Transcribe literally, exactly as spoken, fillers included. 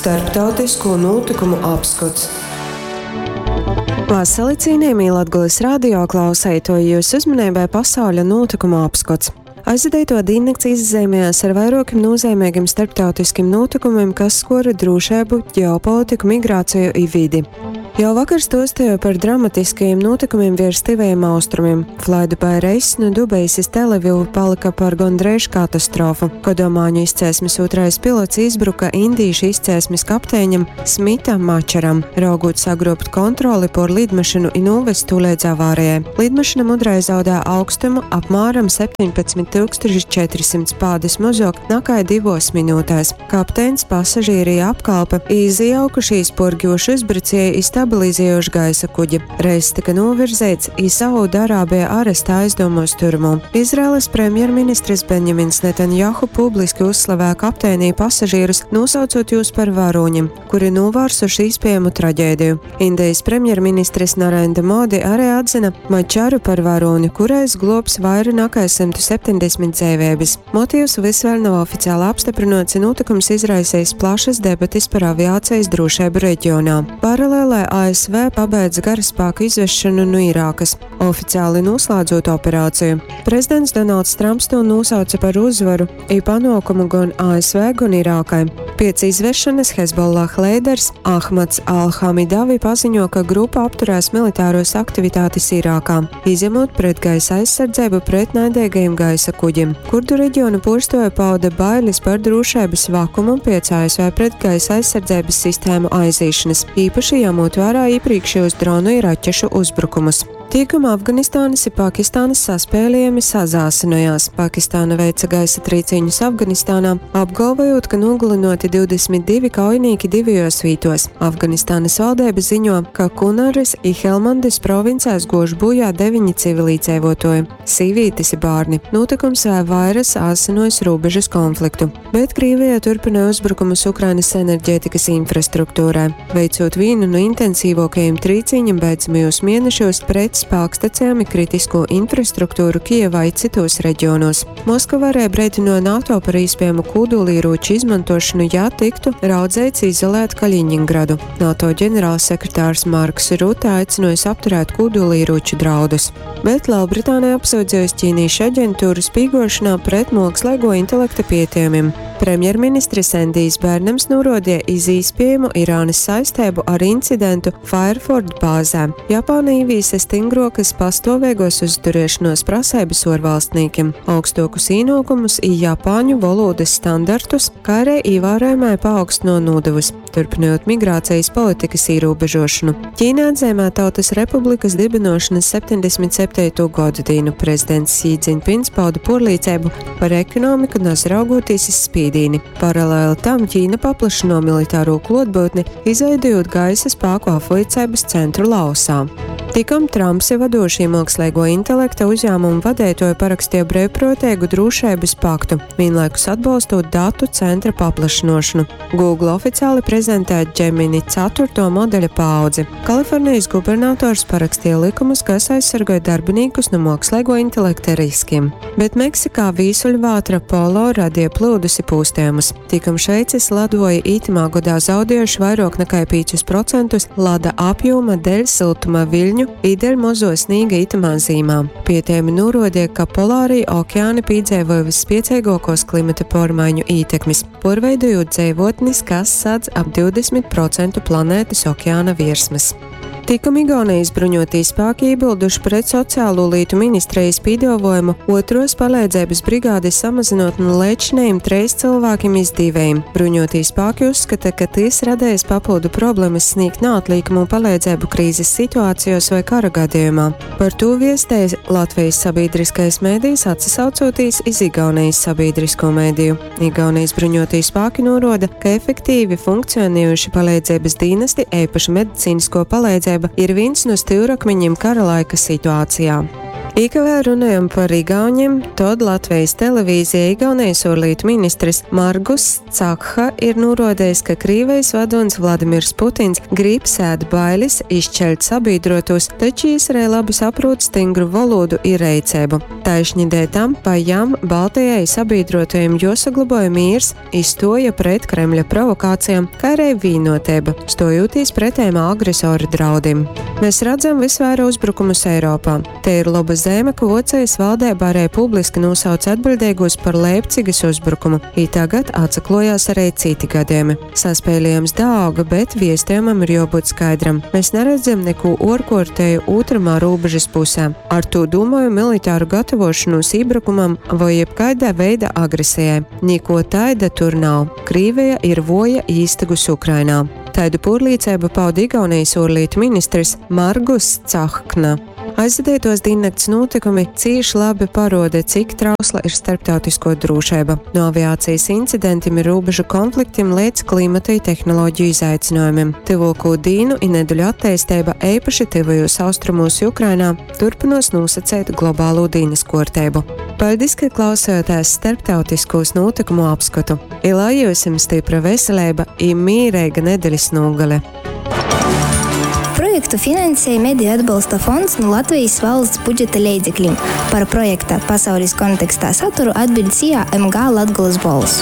Starptautisko nūtykumu apskots. Vasali, cienījamie Latgulas radio klausētoji, jūsu uzmanībai pasauļa nūtykumu apskots. Aizvadīto diennakts izzīmējās ar vairuokim nozīmīgiem starptautiskim nūtykumim, kas skora drošību, ģeopolitiku, migrāciju i vidi. Jau vakar stostīju par dramatiskajiem notikumiem virs Tivajiem austrumiem. Flydubai reiss no Dubajas iz Telavivu palika par gondreiž katastrofu. Kodomāņu izcēsmes otrais pilots izbruka indīšu izcēsmes kapteiņam Smita Mačaram, raugot sagrobt kontroli por lidmašinu i novest tū līdz avārijai. Lidmašina mudrai zaudē augstumu apmēram septiņpadsmit tūkstoši četrisimts pādes mozok nakai divos minūtēs. Kapteins, pasažīri apkalpe izjaukušīs porgjošu uzbrucēju i stabilizējuši gaisa kuģi. Reiss tika novirzīts i Saudārābija arestā aizdomos turmu. Izraēlas premjerministrs Benjamins Netanjahu publiski uzslavēja kapteinī pasažīrus, nosaucot jūs par varoņiem, kuri novārsuši iespējamu traģēdiju. Indijas premjerministrs Narendra Modi arī atzina Mačaru par varoni, kurais globs vairāk nekā simt septiņdesmit dzīvības. Motīvs vis vēl nav oficiāli apstiprināts, un notikums izraisījis plašas debates par aviācijas drošību reģionā. Paralēlē A S V pabeidz karaspēku izvešanu no Irākas, oficiāli noslēdzot operāciju. Prezidents Donalds Trumps to nosauca par uzvaru i panākumu gan A S V, gan Irākai. Pēc izvešanas Hezbollah līderis Ahmads Al-Hamidavi paziņo, ka grupa apturēs militāros aktivitātes Irākā, izņemot pretgaisa aizsardzību pret naidīgajiem gaisa kuģiem. Kurdu reģiona porstoja pauda bailes par drošības vakumu pēc A S V pretgaisa aizsardzības sistēmu aizīšanas, īpaši ņemot vērā iepriekšējos dronu i raķešu uzbrukumus. Tīkuma Afganistānas i Pakistānas saspēlējumi sazāsinojās. Pakistāna veica gaisa trīciņus Afganistānā, apgalvojot, ka nogalinoti divdesmit divi kaujinieki divajos vītos. Afganistānas valdība ziņo, ka Kunaras i Helmandes provincēs gož bojā deviņi civilīdzēvotoji, sīvītes i bārni. Notikums vēl vairas āsinojis robežas konfliktu. Bet Krievija turpina uzbrukumus Ukrainas enerģētikas infrastruktūrai, veicot vienu no intensīvākajiem trīciņiem beidzamajos mēnešos pret spēkstacijām i kritisko infrastruktūru Kijevā i citos reģionos. Moskava arī brīdināja NATO par iespējamu kodolieroču izmantošanu, ja tiktu raudzīts izolēt Kaļiņingradu. NATO ģenerālsekretārs Marks Rutte aicinājis apturēt kodolieroču draudus. Bet Lielbritānija apsūdzējusi ķīniešu aģentūru spīgošanā pret mākslīgo intelekta pētījumiem. Premjerministrs Endijs Bērnams norodīja iz iespējamu Irānas saistību ar incidentu Fairford bāzē. Japāna ieviesa stingrokas pastāvīgos uzturēšanos prasības orvalstniekiem, augstokus īnokumus i japāņu valodas standartus, kā arī ievērojamai paaugstino nodevus, turpinot migrācijas politikas ierobežošanu. Ķīnā atzīmē Tautas Republikas dibinošanas septiņdesmit septīto gadu dienu. Prezidents Xi Jinpings pauda porlīdzību par ekonomiku, nazraugoties iz spīdīni. Paralēli tam Ķīna paplašino militāro klotbūtni, izveidojot gaisa spēku apviecības centru Laosā. Tikam Trumps ir vadošie mākslīgo intelekta uzņēmumu vadītāji parakstīja brīvprātīgu drošības paktu, vienlaikus atbalstot datu centra paplašināšanu. Google oficiāli prezentē Gemini ceturto modeļa paudzi. Kalifornijas gubernators parakstīja likumus, kas aizsargāja darbiniekus no mākslīgo intelekta riskiem. Bet Meksikā vīsuļvētra Polo radīja plūdus i pūstējumus. Tikam Šveices ledoja ītimā gadā zaudējuši vairāk nekā piecus procentus lada apjoma dēļ siltuma viļņu i dēļ mozo snīga itamā zīmā. Pētījumi norādīja, ka polārie okeāni piedzīvoja visspiecīgākos klimata pārmaiņu ietekmes, porveidojot dzīvotnes, kas sadz ap divdesmit procentu planētas okeāna virsmas. Tikam Igaunijas bruņotī spēki iebilduši pret sociālo lietu ministrijas piedāvājumu otros palīdzības brigādes samazinot no līdzinējiem treis cilvēkiem iz diviem. Bruņotī spēki uzskata, ka tas radījis papildu problēmas sniegt neatlīkumu palīdzību krīzes situācijos vai kara gadījumā. Par to viestēja Latvijas sabiedriskais mēdījis atsaucoties iz Igaunijas sabiedrisko mēdīju. Igaunijas bruņotī spēki noroda, ka efektīvi funkcionējuši palīdzības dienesti, īpaši medicīnisko palīdzību, ir viens no stūrakmeņiem kara laika situācijā. I ka vēl runājam par Igauņiem, tod Latvijas televīzija Igaunijas ārlietu ministrs Margus Cakha ir norodējis, ka Krīvijas vadonis Vladimirs Putins grib sēt bailes, izšķelt sabiedrotos, taču arī labi saprot stingru valodu i reiceibu. Taišņi dēļ tam pa jam Baltijai sabiedrotajiem josaglabāja mīrs, izstoja pret Kremļa provokācijām, kā arī vīnotība, stojoties pretējiem agresoru draudim. Mēs redzam visvairāk uzbrukumus Eiropā. Te ir laba zeme, ka Vocijas valdība arī publiski nosauc atbildīgos par Leipcigas uzbrukumu, i tagad atsaklojās arī citi gadījumi. Saspēlējums dauga, bet viestījumam ir jābūt skaidram. Mēs neredzam neko orkortēju otramā robežas pusē. Ar to domāju militāru gatavošanos iebrukumam vai jebkāda veida agresijai. Niko taida tur nav. Krīvija ir voja īstagus Ukrainā. Taidu porlīcību pauda Igaunijas ārlietu ministrs Margus Cahkna. Aizvadītos diennakts notikumi cīši labi paroda, cik trausla ir starptautisko drošība. No aviācijas incidentiem ir robežu konfliktiem līdz klimata i tehnoloģiju izaicinājumiem. Tuvāko dīnu i nedeļu attīstība, īpaši tuvajos austrumos Ukrainā, turpinos nosacīt globālo dīnas kārtību. Paldies, ka klausījāties starptautiskos notikumu apskatu. I lai jums stipra veselība i mīrīga nedēļas nogale! Projektu finansēja Mediju atbalsta fonds no Latvijas valsts budžeta leidzekļiem. Par projekta pasaules kontekstā saturu atbild SIA M G Latgolas Bolss.